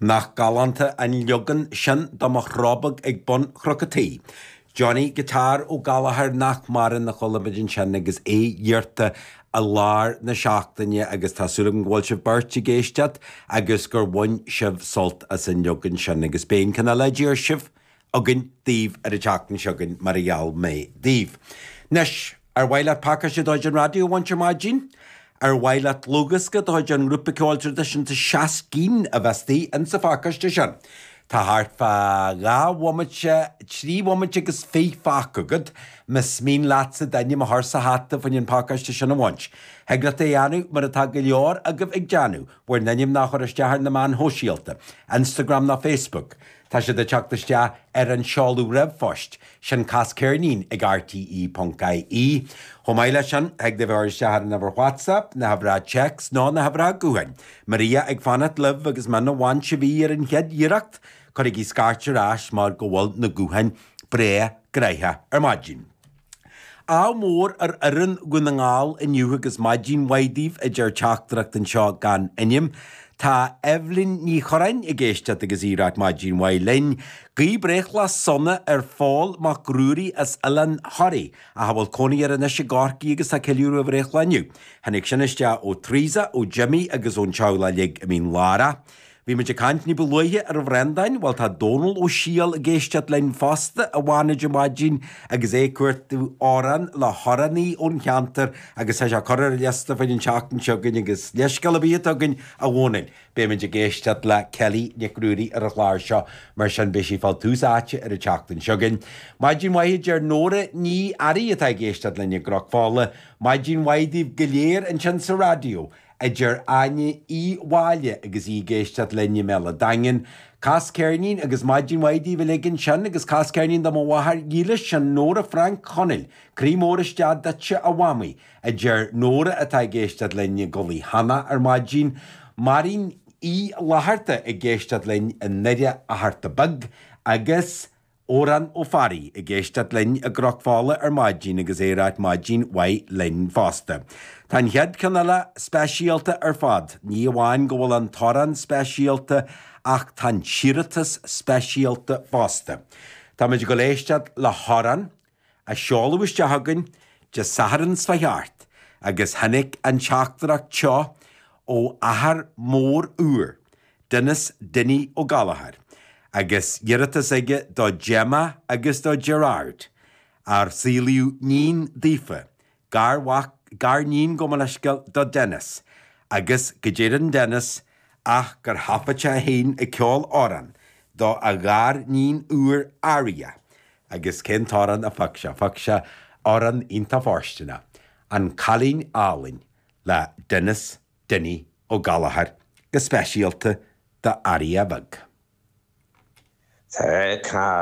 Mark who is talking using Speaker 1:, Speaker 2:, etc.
Speaker 1: Nach galánta an leagan sin de Mo Chró Beag ag bun Chnoc a' Tí. Johnny Guitar Ó Gallchóir nach maireann a chuala muid ansin agus é iarrta i lár na seachtaine agus tá súil agam go bhfuil sibh beirt ag éisteacht agus gur bhain sibh sult as an leagan sin agus beidh an ceann eile a d'iarr sibh againn daoibh ar an tseachtain seo chugainn mar a gheall mé daoibh. Anois, ar mhaith leat pacáiste de chuid an raidió a bhaint ar maidin? Ar mhaith leat dlúthdhiosca de chuid an ngrúpa ceoil traidisiúnta Seascín a bheas istigh insa phacáiste sin? Tá thart fá dhá bhomaite, trí bhomaite agus fiche fágtha agat, más mian leatsa d'ainm a chur sa hata fá choinne an pacáiste sin a bhaint. Thig leat é a dhéanamh mar atá go leor agaibh ag déanamh, bhur n-ainmneacha a chur isteach ar na meáin shóisialta, Instagram nó Facebook. Tá siad ag teacht isteach ar an seoladh ríomhphoist sin casceirnín ag rte ponc ie. Chomh maith leis sin, thig libh a chur isteach ar an uimhir WhatsApp, na huimhreacha téacs nó na huimhreacha gutháin. Maria ag fanacht libh agus muna bhain sibh í ar an chéad iarracht, cuirigí scairt ar ais mar go bhfuil na gutháin breá gnoitheach ar maidin. Ádh mór ar fhoireann Dhún na nGall inniu agus maidin mhaith daoibh, a deir teachtaireacht anseo gan ainm. Tá Eibhlín Ní Churráin ag éisteacht agus í ag ráit maidin mhaith linn. Guí breithlá sona ar Phól Mac Ruairí as Oileán Thoraí ach a bhfuil cónaí air anois i gCorcaigh agus tá ceiliúradh a bhreithlá inniu. Tháinig sin isteach ó Teresa, ó Jimmy agus ón teaghlach uilig i Mín Lárach. Bhí muid ag caint ní ba luaithe ar Bhreandán, bhuel tá Dónal Ó Siadhail ag éisteacht linn fosta i bhFánaid ar maidin agus é ag cuartú amhrán le hamhránaí ón cheantar agus tá sé curtha ar an liosta fá choinne an tseachtain seo chugainn agus leithscéal ar bith atá againn a Dhónaill, beidh muid ag éisteacht le Kelly Nic Ruairí ar an chlár seo mar sin beidh sí ag fáil tús áite ar an tseachtain seo chugainn. Maidin mhaith a deir Nóra Ní Fhearraigh atá ag éisteacht linn i gCnoc Fola. Maidin mhaith daoibh go léir ansin sa raidió. a deir Áine Uí Mháille agus í ag éisteacht linn i mBéal a' Daingin. Cas ceirnín agus maidin mhaith daoibh uilig ansin agus cas ceirnín do mo mháthair dhílis, sin Nóra Frainc Chonaill. Croí mór isteach duitse a mhamaí, a deir Nóra atá ag éisteacht linn i gCoillidh Cheannach ar maidin. Máirín Uí Fhlatharta ag éisteacht linn i nDoire Fhatharta Beag agus. Odhrán Ó Fearraigh ag éisteacht linn i gCnoc Fola ar maidin agus é ag ráit maidin mhaith linn fosta. Tá an chéad cheann eile speisialta ar fad. Ní amháin go bhfuil an t-amhrán speisialta ach tá an t-iarratas speisialta fosta. Táimid ag dul éisteacht le hamhrán a seoladh isteach chugainn Dé Sathairn seo thart agus tháinig an teachtaireacht seo ó athair mór úr, Denis Dinny Ó Gallchóir, agus iarratas aige do Gemma agus do Gerard, ar saolaíodh níon daofa, garmhac, gariníon gabh mo leithscéal, do Denis, agus go deireann Denis ach gur thaifead sé é féin ag ceol amhrán do a ghariníon úr Aria, agus cén t-amhrán a phioc sé? Phioc sé amhrán iontach fóirsteanach, An Cailín Álainn le Denis Dinny Ó Gallchóir, go speisialta do Aria bheag.
Speaker 2: Tá.